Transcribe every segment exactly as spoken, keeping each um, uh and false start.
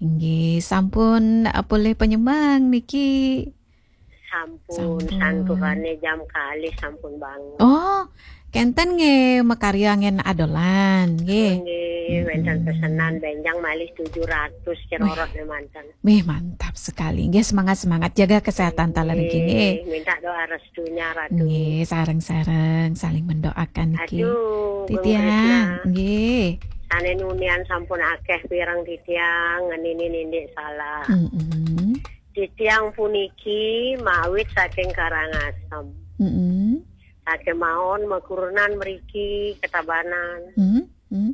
Inggih, sampun, eh, polih panyemeng niki? Sampun, sampun. Santukané jam kalih sampun bangun. Oh, kénten nggih makarya anggén adolan, nggih. Nggih, wénten pesenan bénjang malih tujuh ratus cerorot manten. Wih, mantap sekali. Nggih, semangat-semangat, jaga kesehatan taler niki, nggih. Nggih, minta doa restunya, Ratu. Nggih, sareng-sareng saling mendoakan niki. Aduh, Bung Titiang, Krisna. Nggih. Sané nunian sampun akéh pireng titiang, ngeninin indik salah. Mm-mm. Titiang puniki mawit saking Karangasem. Mm-mm. Sakémaon makurenan mriki Ketabanan. Mm-mm.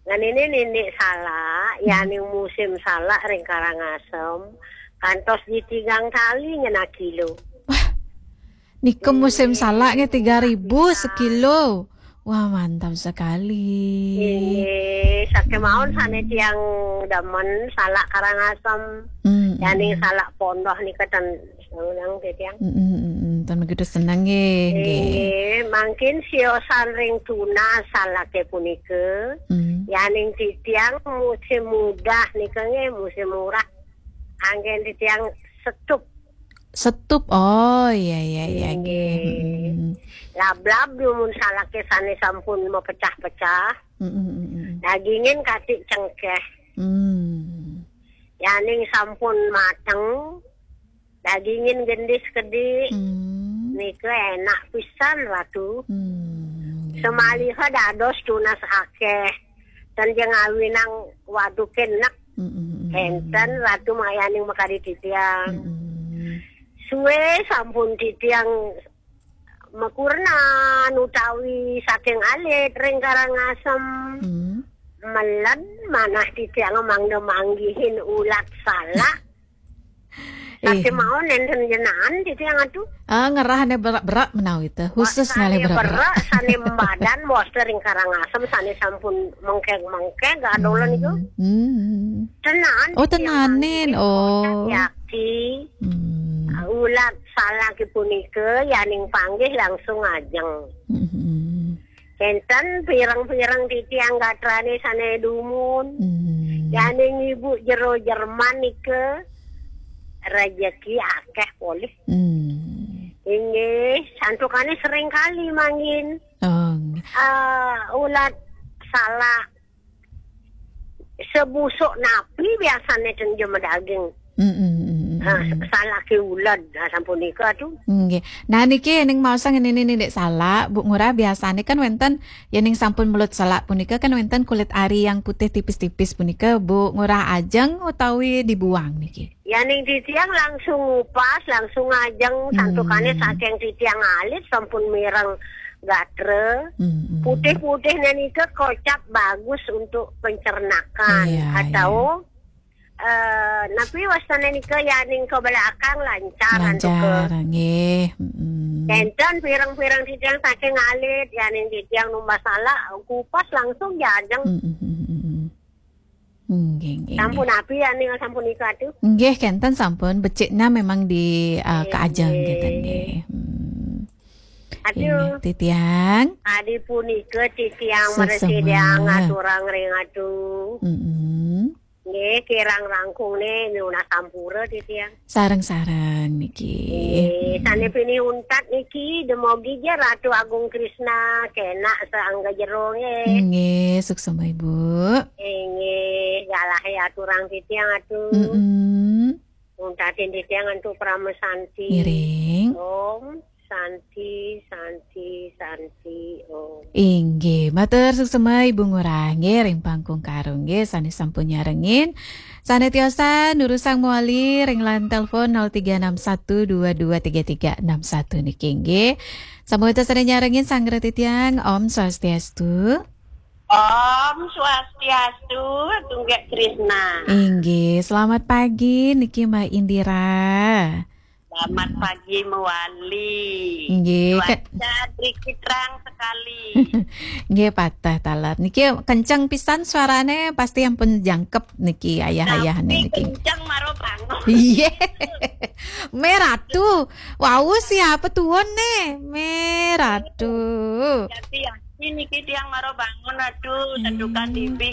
Ngeninin indik salak, yaning musim salak ring Karangasem, kantos di tigang tali ngenah kilo. Wah, nika musim salak nggih tiga ribu sekilo. Wah, mantap sekali. Inggih, sakémaon sané tiang demen salak Karangasem. Mm-mm. Yaning salak pondoh nika ten Seneng titiang. Mm-mm, mm-mm. Tan begitu seneng nggih, nggih. Nggih, mangkin siosan ring tunas salaké punika. Mm. Yaning titiang musim mudah nika nggih, musim murah. Anggén titiang setup. Setup. Oh, iya, iya, iya, nggih. Nggih. Mm-mm. Lablab dumun salaké sané sampun mapecah-pecah. Mm-mm, mm-mm. Dagingin katik cengkéh. Mm. Yaning sampun mateng, dagingin gendis kedi. Hmm. Nika enak pisan, Ratu. Hmm. Semaliha dados tunas akéh. Ten ja ngawinang waduké nek. Hmm, hmm, hmm, hmm. Énten Ratu mayaning makadi titiang. Hmm. Sué sampun titiang makurnan utawi saking alit ring Karangasem. Hmm. Meled manah titiang mangda manggihin ulat salak. Eh. Sakémaon nénten jenengan titiang atuh. Ah, ngerahné berak-berak menawi teh. Khusus ngalih berak-berak. Sané mbadan bos ring Karangasem sané sampun mengkeg-mengkeg adolan itu. Hmm. Hmm. Tenan. Oh, titiang tenanin. Manggihin. Oh. Yakti. Hmm. Ulat salak punika yaning panggih langsung ajeng. Hmm. Kénten pireng-pireng titiang gatrané sané dumun. Hmm. Yaning ibu jero Jerman nika rejeki akéh polih. Hmm. Inggih, santukané sering kali mangkin. Oh. Eh, ulat salak sebusuk napi biasané ten ja madaging. Mm, mm, mm, mm, ah, mm. Salaké ulat, ah, sampun nika tuh. Nggih. Nah, niki ning maosang ini, ini, Dek, salak, Bu Ngurah, biasanya kan wénten, ya, ning sampun melut salak punika kan wénten kulit ari yang putih tipis-tipis punika, Bu Ngurah ajeng utawi dibuang niki? Ya, ning titiang langsung ngupas, langsung ngajeng, hmm, santukané saking titiang alit sampun mireng gatra. Hmm, hmm. Putih-putihnya nika kocap bagus untuk pencernakan. Iya, atau iya. Eh, napi wastané nika, yaning ke belakang lancar, lancar, antuk ke. Nggih, mm-mm. Kénten pireng-pireng titiang saking alit, yaning titiang numbas salak, kupas langsung ja ajeng. Mm-mm, mm-mm. Nggih, nggih, sampun nggih. Api yaning sampun nika tuh. Nggih, kénten sampun beciknya memang di, eh, nggih, kaajeng nggih. Kénten nggih. Hmm. Aduh. Nggih, titiang. Adi punika titiang suksma. Mresidiang aturang ring atuh. Mm-mm. Nggih, kirang langkung né nunas sampura titiang. Sareng-sareng niki. Nggih, sané pinih untat niki, demogi ja Ratu Agung Krisna kénak saangga jero nggih. Nggih, suksma Ibu. Nggih, galahé aturang titiang atuh. Mm-mm. Untatin titiang antuk parama santi. Ngiring. Om. Santi, santi, santi, om. Inggih, matur suksma Ibu Ngurah nggih ring pangkung karung nggih sané sampun nyarengin. Sané tiosan nurusang mawali ring line telepon nol tiga enam satu dua dua tiga tiga enam satu niki nggih. Sampun sané nyarengin sanggra titiang, Om Swastiastu. Om Swastiastu, Tunggak Krisna. Inggih, selamat pagi niki Mbak Indira. Selamat pagi mawali. Nggih, ke- cuaca sedikit terang sekali. Nggih, pateh taler. Niki kenceng pisan suarané, pasti ampun jangkep niki ayah-ayah niki. Tapi kenceng maro bangun. Iya. Mé Ratu, wau siapa tuon né? Mé Ratu. Jadi ya, ini niki tiang maro bangun, aduh, santukan, hmm, dibing